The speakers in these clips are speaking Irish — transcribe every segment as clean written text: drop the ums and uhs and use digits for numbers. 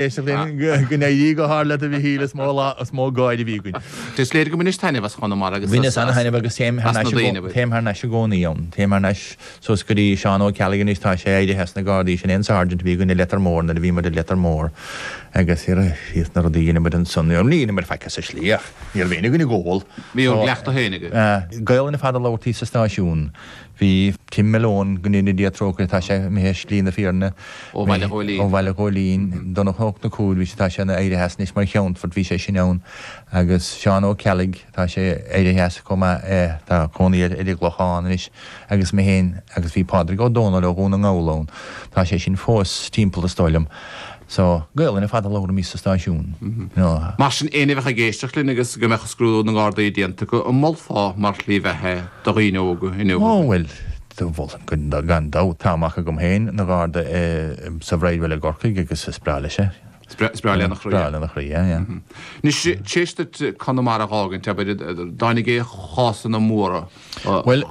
Éisteacht linn go n-éirí go hard leat a Mhichíl, is mó lá, is mó gáire a bhí againn. Is léir go mbainis taitneamh as Chonamara agus as Bhaineas ana-thaitneamh agus téim thar as na n-ais i daoine. gcó, téim thar n-ais i gcónaí ann. Téim thar n-ais suas go dtí Seán Ó Ceallaigh anois, tá sé éirithe as na Gardaí, sin é an Sergeant a bhí againn i Leitir Móir nuair a bhí muid i Leitir Móir agus thiar na rudaí a dheineadh muid ansan, ní dheineadh muid faic sa slí ach ní raibh éinne againn ag ól. Bhí bhur gcleachtadh féin agaibh. Gaelainn ar fad a labhartaí sa stáisiún. Bhí Tim Malone, go ndéana Dia trócaire, tá sé imithe ar shlí na fírinne. Ó Bhaile Ghóilín. Ó Bhaile Ghóilín. Donncha Ó Conchúir, bhí sé, tá sé éirithe as anois mar Cheannfort, bhí sé sin ann. Agus Seán Ó Ceallaigh, tá sé éirithe as chomh maith, tá cónaí air ar an gClochán anois. Agus mé féin, agus bhí Pádraig Ó Dónaill ó Dhún na nGall ann. Tá sé sin fós timpeall is dóigh liom. So, Gaelainn ar fad a labhraímís sa stáisiún, you know. Mar sin, éinne a bheadh ag éisteacht linn agus go mbeadh scrúdú na nGardaí déanta acu, an molfá mar shlí bheatha do dhaoine óga inniu? Ó, bhuel, mholfainn gan dabht. Tá mac agam féin ina Gharda sa Bhridewell i gCorcaigh agus is breá leis é. Is breá lena chroí é. Breá lena chroí é, yeah. Anois, tar éis duit Conamara a dh'fhágaint, abair, dtáinig aon chásanna móra Bhuel,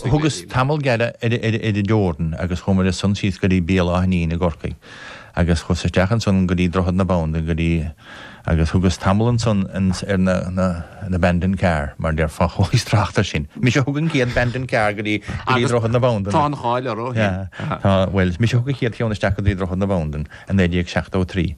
thugas tamall gearr ar an dteorainn agus chuamair ansan síos go dtí Béal Átha Nín i gCorcaigh agus chuas isteach ansan go dtí Droichead na Bandan go dtí agus thugas tamall ansan ar na an abandoned car mar déarfá chualaís trácht air sin. Mise a thug an chéad abandoned car go dtí go dtí Droichead na Bandan. Tá an cháil orthu ó shin. Tá, bhuel, mise a thug an chéad cheann isteach go dtí Droichead na Bandan i 1973.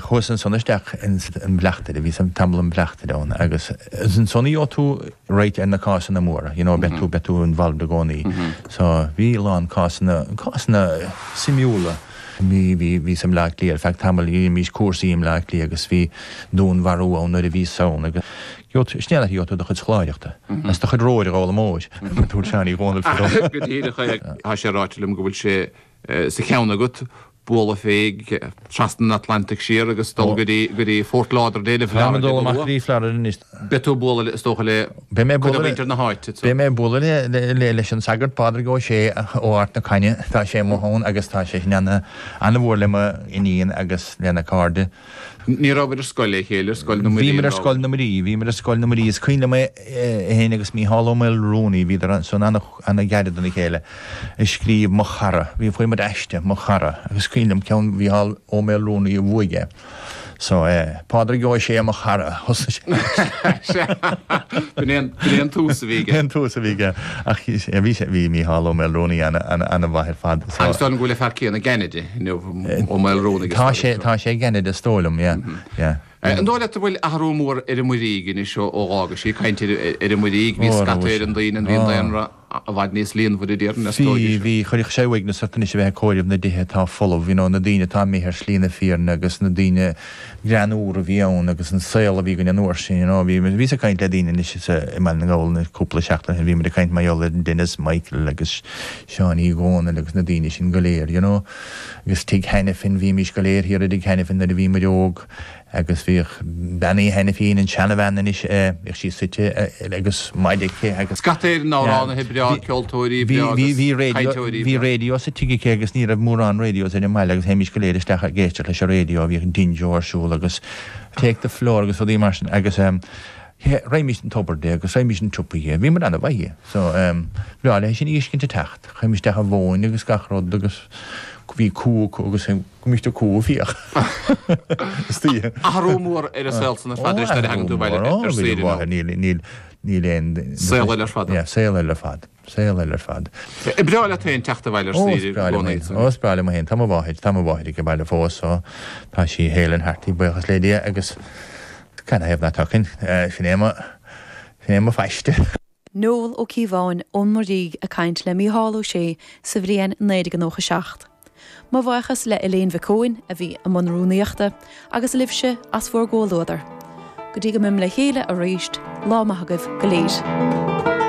Chuas ansan isteach ins an Bleachtaire, bhíos tamall im Bhleachtaire ann agus ansan a gheobhaidh tú right ar na cásanna móra, you know, beidh tú, beidh tú involved i gcónaí. So bhí a lán cásanna, cásanna suimiúla. Bhí, bhí, bhíos i mBleá Cliath ar feadh tamaill, dheinimís cúrsaí i mBleá Cliath agus bhí dúnmharú ann nuair a bhíos ann agus gheobhaidh tú, sin é an áit a gheobhaidh tú do chuid scoláireachta agus do chuid romhair a ghabháil amóir, a dúirt Seán Uí Dhónaill fadó. Go díreach é. Tá sé ráite liom go bhfuil sé sa cheann agat bualadh fé trasna an Atlantaigh siar agus dul go dtí, go dtí Fort Lauderdale i Táim ag dul amach go dtí Florida anois. Beidh tú ag bualadh le, is dócha le Beidh mé ag cuid de bualadh le, mhuintir na háite. beidh mé ag bualadh le, le, le, leis an sagart Pádraig Ó Sé ó Ard na Caithne. Tá sé amuigh ann agus tá sé sin ana, ana-mhór le mo iníon agus lena cairde. Ní rabhabhair ar scoil le chéile, ar Scoil na Muirí Bhíomar ar Scoil na Muirí, bhíomar ar Scoil na Muirí. Is cuimhin liom é féin agus Mícheál Ó Maolrúnaí, bhíodar ansan ana-ghairid dona chéile, ag scríobh Mo Chara. Bhí, fuair muid aiste, Mo Chara, agus is cuimhin liom ceann Mhícheál Ó Maolrúnaí a bhuaigh é. So, eh, Pádraig Ó Sé, mo chara, thosaigh sé. B'in é an, b'in é an tús a bhí aige. An tús a bhí aige. Ach bhí sé, bhí Mícheál Ó Maolrúnaí ana, ana, ana-mhaith ar fad. So. Agus dóigh liom go bhfuil an fear céanna i gCeanada inniu, Ó Maolrúnaigh. Tá sé, tá sé i gCeanada is dóigh liom, yeah, yeah. An dóigh leat an bhfuil athrú mór ar an Muirígh anois ó dh'fhágais í? Ag caint ar an Muirígh, bhí scata ar an daoine, bhí an daonra i bhfad níos líonmhaire déarfainn, is dóigh. Bhí, bhí, chuirfeadh sé uaigneas ort anois a bheith ag comhaireamh na dtithe atá folamh, you know, na daoine atá imithe ar shlí na fírinne agus na daoine greannmhara a bhí ann agus an saol a bhí againn an uair sin, you know, bhí, bhíos ag caint le daoine anois sa, i mBaile na nGall anois cúpla seachtain ó shin, bhí muid ag caint mar gheall ar Denis Michael agus Seán Uí Dhónaill agus na daoine sin go léir, you know, agus Tigh Hanafin, bhímís go léir thiar i dTigh Hanafin nuair a bhí muid óg. Agus bhíodh Bean Uí Hainifín, an seanabhean anois, bhíodh sí suite agus maide aici agus. Scata Éireann, amhránaithe breá, ceoltóirí breá agus cainteoirí breá. Bhí raidió sa tigh aici agus ní raibh mórán radios ar an mbaile agus théimís go léir isteach ag éisteacht leis an raidió, bhíodh Dinjo ar siúl agus Take the Floor agus rudaí mar sin agus raghaimís an tobar di agus raghaimís an tsiopa di, bhí muid ana-mhaith di. So, bhreá léi sinn a fheiscint ag teacht, chuimis isteach an mhóin agus gach rud agus bhí cú acu agus. Go mbíonn tú cumha fiach. Istoíche. Athrú mór ar an saol san ar fad anois nuair a thagann tú abhaile ar saoire nó. Níl, níl, níl aon. Saol eile ar fad. Yeah, saol eile ar fad. Saol eile ar fad. An breá leat féin teacht abhaile ar saoire i gcónaí? Ó, is breá liom féin. Tá mo mháthair, tá mo mháthair ag baile fós so tá sí hale and hearty, buíochas le Dia agus canathaobh ná tiocfainn? Sin é mo, sin é mo phaiste. Noel Ó Cíobháin ón Muirígh ag caint le Mícheál Ó Sé sa bhliain 1997. Mo bhuíochas le Elaine Mhic Eoin a bhí i mbun rúnaíochta agus libhse as bhur gcomhluadar. Go dtí go mbeimid le chéile arís, lá maith agaibh go léir.